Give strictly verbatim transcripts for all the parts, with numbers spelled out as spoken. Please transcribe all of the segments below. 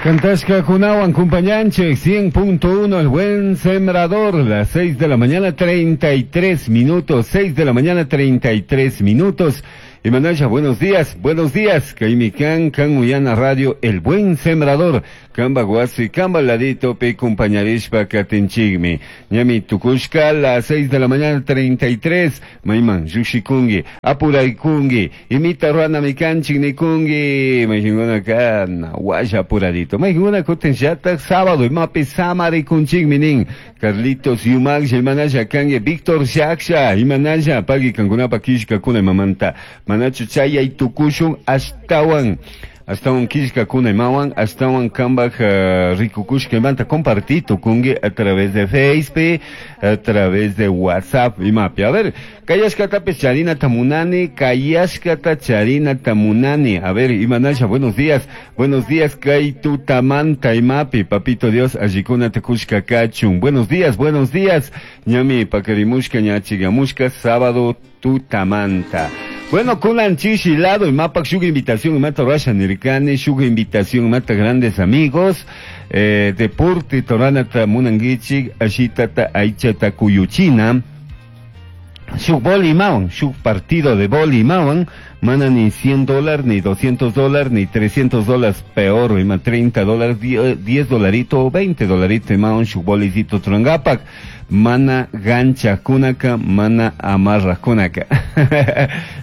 Cantashkakunawan kumpañanchik cien punto uno, El Buen Sembrador, las seis de la mañana treinta y tres minutos, seis de la mañana treinta y tres minutos. Y Manasha, buenos días, buenos días. Kaimi kan, kan uyana radio, El Buen Sembrador. Kamba wasi, kamba ladito, pe kumpañarishpa katinchikmi. Ñami tukushka, las seis de la mañana treinta y tres. Maiman, yushikungi, apuraykungi, imita ruana mikanchik nikungi. Maijinguna kan, washa apuradito. Maijinguna kutin yatak sábado, imapi samarikunchikmi nin. Carlitos Yumak, imanasha kangi, Víctor Shaksha, imanasha, pagi kankunapa kishkakuna imamanta. Manachu chayay tukushun ashtawan. Ashtawan kishkakuna imawan, ashtawan kambaj uh, rikukushka imanta compartí tukungi a través de Facebook, a través de WhatsApp imapi. A ver, kayashkatapis charinata munani, kayashkata charinata munani. A ver, imanasha, buenos días, buenos días, kay tutamanta imapi, papito Dios, allikuna tukushka kachun. Buenos días, buenos días, ñami pakarimushka, ñachigamushka, sábado tutamanta. Bueno, kunan chishi lado imapak shuk invitación imata rasha nirkani, shuk invitación imata, grandes amigos, eh, deporte toranata munanguichik, ashitata aichata kuyuchina, shuk boli imawan, shuk partido de boli imawan, mana ni cien dólares, ni doscientos dólares, ni trescientos dólares, peor, ima treinta dólares, diez dolarito, veinte dolarito imawan, shuk bolicito turangapak, mana gancha kunaka, mana amarra kunaka,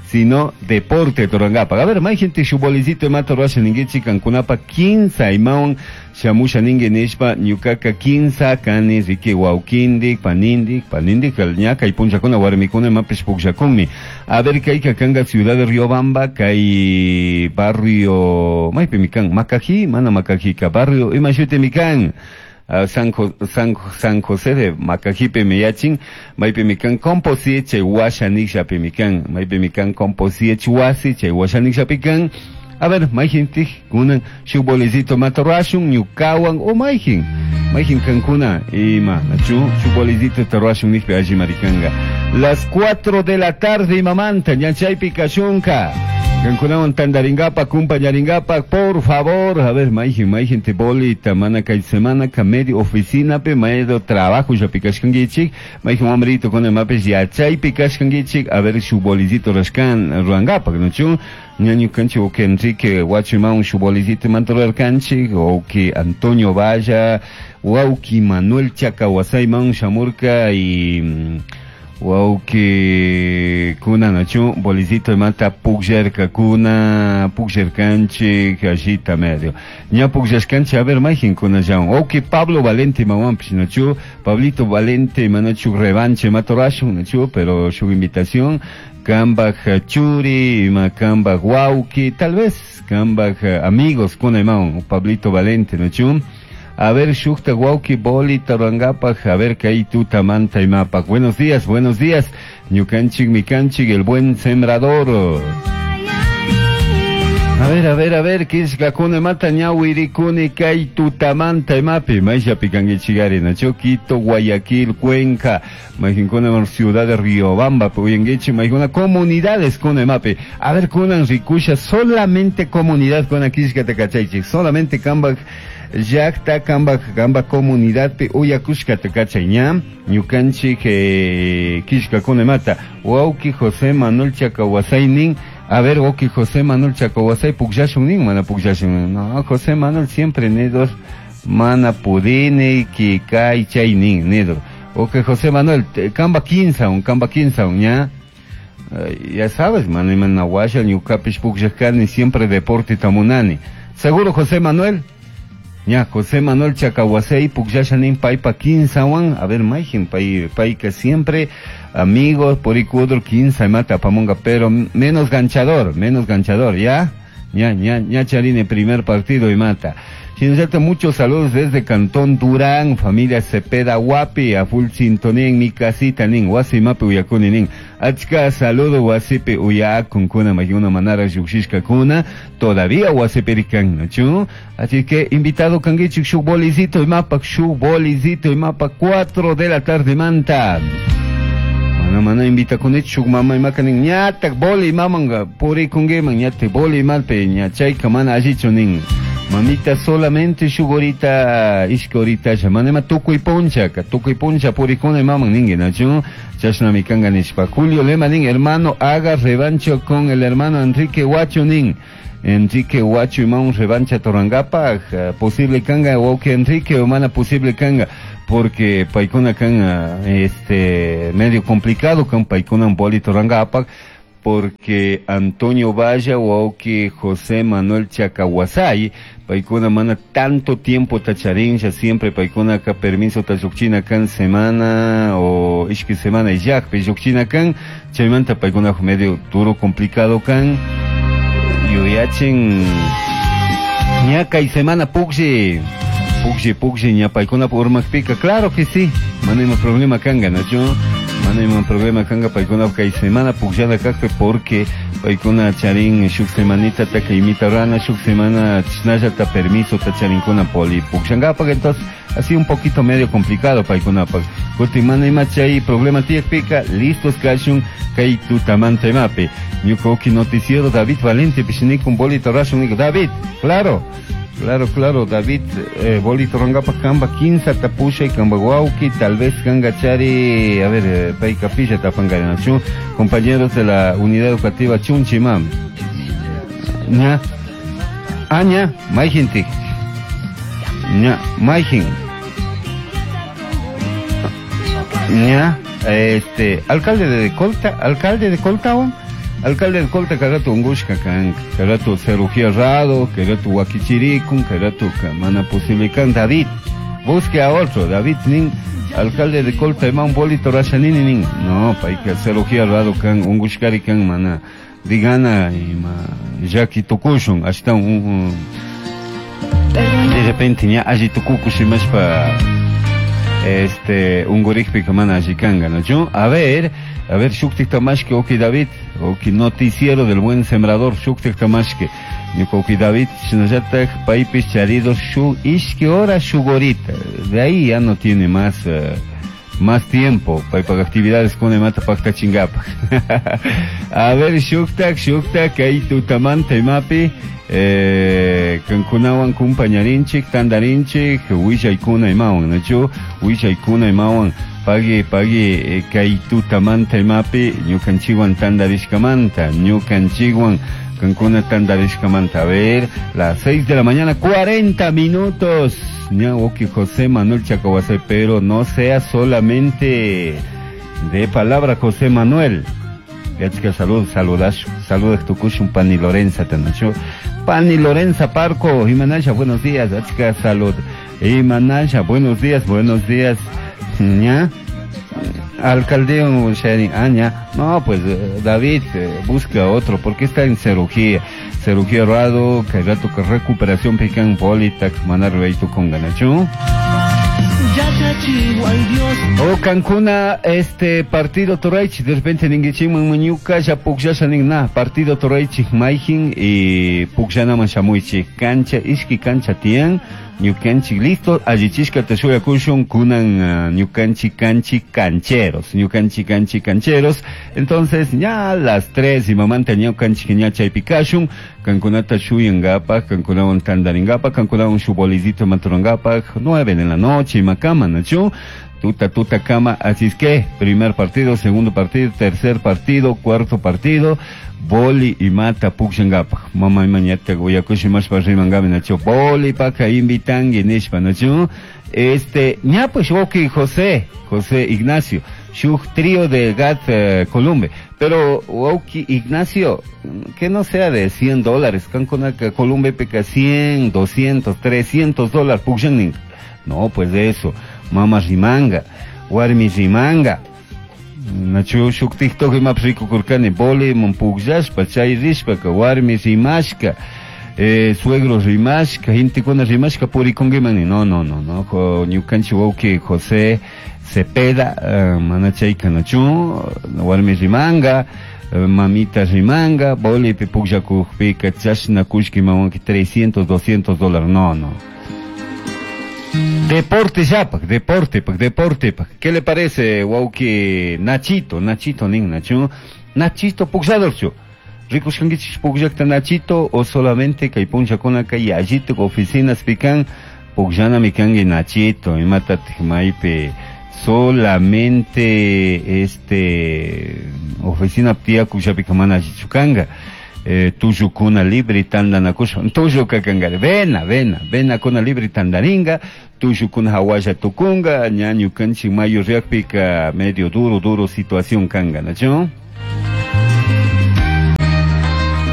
sino deporte turangapa. A ver, mayjintik shuk bolicito imata rurasha ninguichik, kankunapa kinsa imawan shamusha ningui nishpa, ñukaka kinsa kani riki wawkindik, panindik, panindik, ña kay punchakuna warmikuna imapish pukllakunmi. A ver, kayka kanga ciudad de Riobamba, kay barrio, maypimi kan, Macají, mana Macajika, barrio, ima shutimi kan. Uh, San, Jo San, San José de Macajipe miyachin, maypimi kan Composite chay washa nikshapimi kan, maypimi kan Composite wasi chay washa nikshapi kan. A ver, mayjintik kunan shuk bolicito mata rurashun ñukawan o mayjin, mayjin kankuna ima, nachu, shuk bolicito rurashun nikpi alli marikanga. Las cuatro de la tarde imamanta, ña chaypi kashunka. Kankunawan tandaringapa, kumpañaringapa, por favor. A ver, mayjin, mayjin te bolita, mana kay semana ka medio oficina pe medio trabajo llapi kashkanguichik, mayjin wamrito con imapis yachaypi kashkanguichik, a ver, shuk bolicito rashkan ruangapa, nachu, ñañu kanchi o que Enrique Huachimaun shuk bolicito mantorarkanchik, o que Antonio Valla, wauki Manuel Chacahuasayman shamurka y wauki kuna nachu bolicito imata pukllarka kuna pukllarkanchik allita medio ña pukllashkanchik. A ver, mayjin kuna llawan wauki Pablo Valente imawanpish, nachu, Pablito Valente manachu revanche imata rurashun, nachu, pero shuk invitación kambaj churi ima kambaj wauki, tal vez kambaj amigos kuna imawan Pablito Valente, nachu. A ver, shukta wauki boli tarangapaj, a ver, kay tutamanta imapak. Buenos días, buenos días. Ñukanchik mikanchik, El Buen Sembrador. A ver, a ver, a ver, kishkakuna mata ñawirikuni kay tutamanta imapi. Mayllapi kanguichigari, nacho, Quito, Guayaquil, Cuenca, mayjinkuna ciudad de Riobamba, uyanguichi, mayjuna comunidades kuna imapi. A ver, kunan rikusha, solamente comunidad kuna kishkata kachaychik, solamente kambak llakta kambak kamba comunidad pe uyakushkata kachay ña ñukanchik eh, kishkakuna imata wauki José Manuel Chacahuasay nin. A ver, wauki José Manuel Chacahuasay pukllashun nin, mana pukllashun. No, José Manuel siempre nidos mana pudini ki kay chay nin nido. Ok, José Manuel, kamba kinsa un kamba kinsa un ña. Ya sabes, mana mana washa ñukapish pukllashkani siempre deporte tamunani. Seguro José Manuel. Ña, José Manuel Chacahuasey, pukllasha nin paypa kinsawan. A ver, mayjin, pay, payka siempre, amigos, purikudro, kinsa mata apamunga, pero menos ganchador, menos ganchador, ¿ya? Ña, ña, ña charini primer partido imata. Shinallata muchos saludos desde Cantón Durán, familia Cepeda Guapi, a full sintonía en mi casita nin, wasi mapi uyakuni nin. Achka saludo wasipi uyakun kuna mayuna manara yushishka kuna, todavía wasipi rikan, nachu. Así que invitado kanguichik shuk bolicito imapak, shuk bolicito imapak, cuatro de la tarde manta. Mana mana invita kunich shuk mama imakanin ñatak boli mamanga purikunguiman ñatak boli malpe ña chayka mana allichu nin. Mamita solamente shuk horita, ishki horita, manema tukuy puncha, tukuy puncha purikuna imaman ningi, nachu, chashnami kanga nishpa. Julio Lema nin, hermano, haga revancho con el hermano Enrique Huacho nin. Enrique Huacho imaun revancha torangapa, posible kanga, o que Enrique o mana posible kanga, porque paikuna kanga, este, medio complicado kan paikuna boli torangapa, porque Antonio Valla o que José Manuel Chacahuasay, paikuna mana tanto tiempo tacharincha, siempre paikuna ka permiso tachukchina kan semana o ishki semana y yak, peyukchina kan, chaymanta paikuna medio duro complicado kan, yuyachin ñaka y semana pukshi, pukshi, pukshi, ña paikuna urmakpika, claro que sí, mana ima problema kanga, nacho, mana ima problema kanga paikuna kay semana pukllana kakpe, porque paikuna charin shuk semanita ta imita rana, shuk semana chnalla ta permiso ta charinkuna poli pukllangapa, entonces así un poquito medio complicado paikuna pa kuti mana ima chay problema tiyakpika, listos kashun kay tutamanta imapi. Ñuka uki noticiero David Valente pishinikun bolito rashun, David, claro. Claro, claro, David, eh, bolito rangapa kamba quince tapusha y kamba guauki, tal vez kanga chari, a ver, eh, pay capilla tapanga nación, compañeros de la unidad educativa Chunchimam. Ña, aña, maijintik. Ña, maijin. Ña, este, alcalde de Colta, alcalde de Colta, alcalde de Colta karato ungushka kan, karato cirugía rado, karato wakichirikun, karato mana posible kan, David, busque a otro, David nin, alcalde de Colta ima un bolito rashanini nin, no, paika cirugía rado kan, ungushkari kan, mana, digana, ima, yaki tukushun, hasta un, de repente ña alli tukukushimashpa, este, ungurikpika mana alli kanga, no, yo, a ver, a ver, shuktik tamashke, oki David, oki noticiero del buen sembrador, shuktik tamashke, oki David, shinallatak, paipis charido, shu, ishki hora shugorita, de ahí ya no tiene más, uh, más tiempo, paipa actividades con emata pakta chingapa. A ver, shuktak, shuktak, ahí tutamanta imapi, eh, kankunawan kumpañarinchik, tandarinchik, willaykuna imawan, nachu, willaykuna imawan, pagui, pagui, kay tutamanta imapi, ñukanchikwan tandarishkamanta, ñukanchikwan kankuna tandarishkamanta. A ver, las seis de la mañana, cuarenta minutos. Ña, oki José Manuel Chacahuasay, pero no sea solamente de palabra José Manuel. Yachka salud, saludas, saludas tukushun Pani Lorenza tanacho. Pani Lorenza Parco, Imanasha, buenos días, Achka salud. Imanasha, buenos días, buenos días. Ña, alcalde Aña, no, pues David, busca otro, porque está en cirugía, cirugía rado, que rato que recuperación pican politax, manar con ganacho. O Cancuna, este partido Toraichi, de repente ninguichiman mañuka, ya pukllasa nin na, partido Toraichi maijin y pukllanaman shamuichi, cancha, ishki cancha tian, ñukanchi listo, allichishka teshuyakushun kunan ñukanchi kanchi cancheros, ñukanchi kanchi cancheros. Entonces, ya a las tres y mamanta ñukanchi ña chaypikashun, kankunata shuyangapaj, kankunawan tandaringapaj, kankunawan shubolizito maturangapaj, nueve de la noche y macama, nachu. Tuta, tuta, cama, así es que, primer partido, segundo partido, tercer partido, cuarto partido, boli y mata pukshangapaj. Mama y mañata guyakushi mashpa rimangami nacho, boli paka invitangi nishpa nacho. Este, ña pues oki José, José Ignacio, shuk trío de Gat eh, Columbe. Pero, oki Ignacio, que no sea de cien dólares, kankunaka Columbe peca cien, doscientos, trescientos dólares, pukshangning. No, pues de eso. Mama rimanga, warmi rimanga. Nachu shuk TikTok ima rikukurkani boli mumpukllashpa chay rishpaka warmi rimashka, eh, suegro rimashka, gentekuna rimashka purikunkiman. No, no, no, no. Ñukanchik wawqi José Cepeda, eh, mana chayka nachu, warmi rimanga, mamita rimanga, bolipi pukllakukpika chashna kullki mawanki trescientos, doscientos dólares. No, no. Deporte ya, pak, deporte, pak, deporte, pak. ¿Qué le parece, wauki Nachito, Nachito nin, Nacho? Nachito puklladorchu. Rikushkankichik pukllakta Nachito o solamente kay punllakunaka yallituk oficinas pikan pukllanami kanki Nachito, imatatik maypi solamente este oficina tiyakushapika mana allichu kanka. Eh, tullukuna libre tantanakushpa tulluka kankari vena vena venakuna libre tantarinka, tullukuna hawalla tukunka, ña ñukanchik mayo riakpika medio duro duro situación kanka, ¿nachu?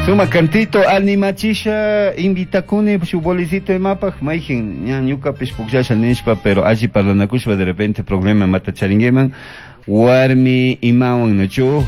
Suma cantito animachisha invitakuni shu bolicito imapaj mayjin ña ñukapish pukllasha nishpa, pero alli parlanakushpa de repente problema mata charinguiman warmi imawan, ¿nachu?